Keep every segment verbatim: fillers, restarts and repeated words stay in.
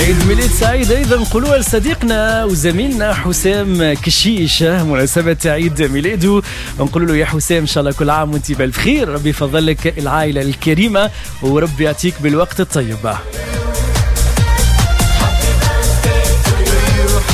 عيد ميلاد سعيد ايضا نقولوها لصديقنا وزميلنا حسام كشيش، مناسبة عيد ميلاده نقول له يا حسام ان شاء الله كل عام وانت بالف خير، ربي يفضل لك العائلة الكريمة وربي يعطيك بالوقت الطيب.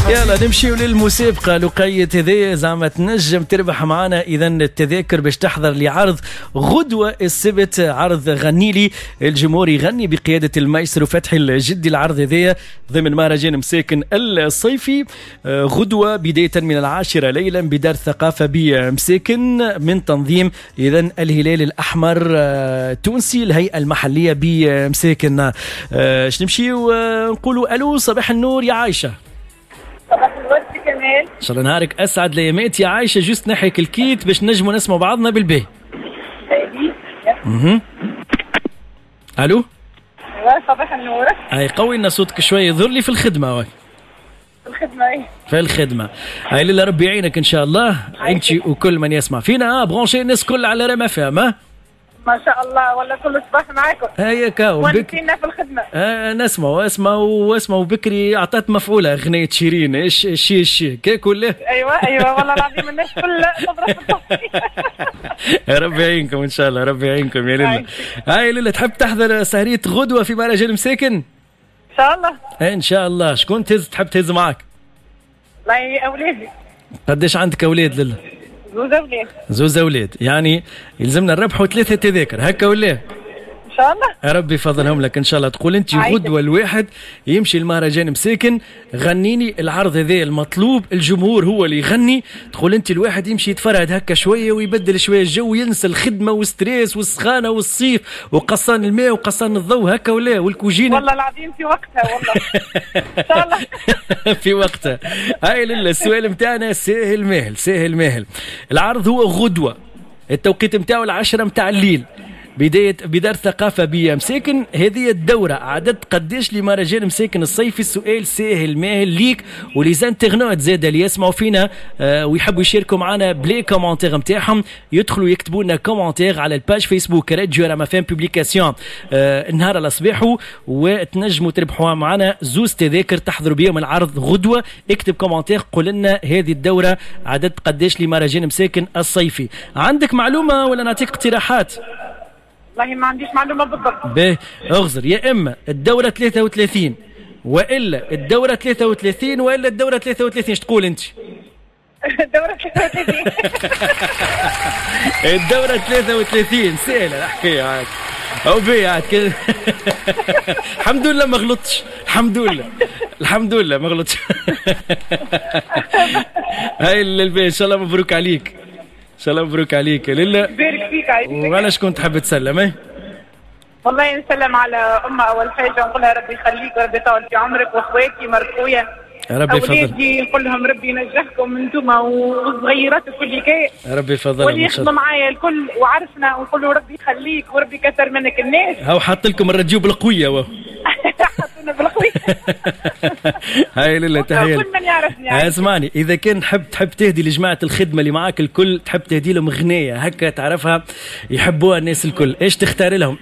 يلا نمشيو للمسابقة لقية هذايا، زعما تنجم تربح معنا إذا التذاكر باش تحضر لعرض غدوة السبت، عرض غنيلي الجمهور يغني بقيادة المايسترو فتحي الجدي. العرض هذايا ضمن مهرجان مساكن الصيفي، غدوة بداية من العاشرة ليلا بدار الثقافة بمساكن، من تنظيم إذا الهلال الأحمر التونسي الهيئة المحلية بمساكن. باش نمشيو نقولوا ألو، صباح النور يا عايشة. صباح الورد كمال، ان شاء الله نهارك اسعد الايامات يا عايشه. juste نحيك ال kit باش نجموا نسمعوا بعضنا بالباهي. اها الو، صباح النور. هاي قوي لنا صوتك شوية، يظهر لي في الخدمة. واك في الخدمة؟ ايه في الخدمة. هاي لله ربي يعينك ان شاء الله انت وكل من يسمع فينا. branchés الناس كل على رام اف ام. ما شاء الله، ولا كل صباح معاكم. هيا كاو ونسينا في الخدمة. آه نسمع واسمع واسمع وبكري اعطت مفعوله اغنية شيرين ايش شي شي كيك ولا؟ ايوه ايوه والله العظيم الناس كلها تضرب في. ربي يعينكم ان شاء الله، ربي يعينكم يا ليلى. هاي ليلى، تحب تحضر سهريه غدوه في مهرجان مساكن؟ ان شاء الله. ان شاء الله. شكون تهز تحب تهز معاك؟ والله اولادي. قداش عندك اولاد ليلى؟ زوز اولاد. زوز اولاد، يعني يلزمنا نربحوا ثلاثة تذاكر هكا ولا؟ ان شاء الله. ربي يفضلهم لك ان شاء الله. تقول انت غدوه الواحد يمشي المهرجان مساكن غنيني العرض هذا المطلوب، الجمهور هو اللي يغني. تقول انت الواحد يمشي يتفرهد هكا شوية ويبدل شوية الجو، ينسى الخدمة وال stress والسخانه والصيف وقصان الماء وقصان الضوء هكا ولا؟ والكوجينه والله العظيم في وقتها والله. ان شاء الله في وقتها. هاي لله السؤال نتاعنا ساهل ماهل، ساهل ماهل. العرض هو غدوه، التوقيت نتاعو العشرة نتاع الليل، بداية بدار الثقافة بمساكن. هذه الدورة عدد قداش لمهرجان مساكن الصيفي؟ السؤال ساهل ماهل ليك و les internautes زاد اللي يسمعوا فينا آه ويحبوا يشاركوا معنا ب les commentaires نتاعهم، يدخلوا يكتبوا لنا commentaire على ال page فيسبوك راديو رام اف ام publication آه النهار على صباحه، وتنجموا تربحوا معنا زوز تذاكر تحضروا بيهم العرض غدوة. اكتب commentaire قول لنا هذه الدورة عدد قداش لمهرجان مساكن الصيفي. عندك معلومة ولا نعطيك اقتراحات؟ والله ما عنديش معلومة بالضبط. باهي اغزر، يا اما الدورة ثلاثة وثلاثين والا الدورة ثلاثة وثلاثين والا الدورة ثلاثة وثلاثين، اش تقول انت؟ الدورة ثلاثة وثلاثين. الدورة ثلاثة وثلاثين سهلة الحكاية عاد. او بي عاد كده. الحمد لله ما غلطتش، الحمد لله الحمد لله ما غلطتش. هاي الباهي، ان شاء الله مبروك عليك. ان شاء الله مبروك عليك يا ليلى. بارك فيك عايشك. وعلى شكون تحب تسلم؟ ايه والله نسلم على امها اول حاجة ونقول لها ربي يخليك وربي يطول في عمرك، واخواتي مرت خويا ربي يفضل، اولادي نقول لهم ربي ينجحكم انتم والصغيرات وكل حكاية، ربي يفضلهم واللي يخدموا معايا الكل وعرفنا، ونقول له ربي يخليك وربي كثر منك الناس. هاو حاط لكم الراديو بالقويه وهو حطونا بالقويه. هاي لله تحية كل من يعرفني. اسمعني، اذا كان تحب تحب تهدي لجماعة الخدمة اللي معاك الكل، تحب تهدي لهم غنايه هكا تعرفها يحبوها الناس الكل، ايش تختار لهم؟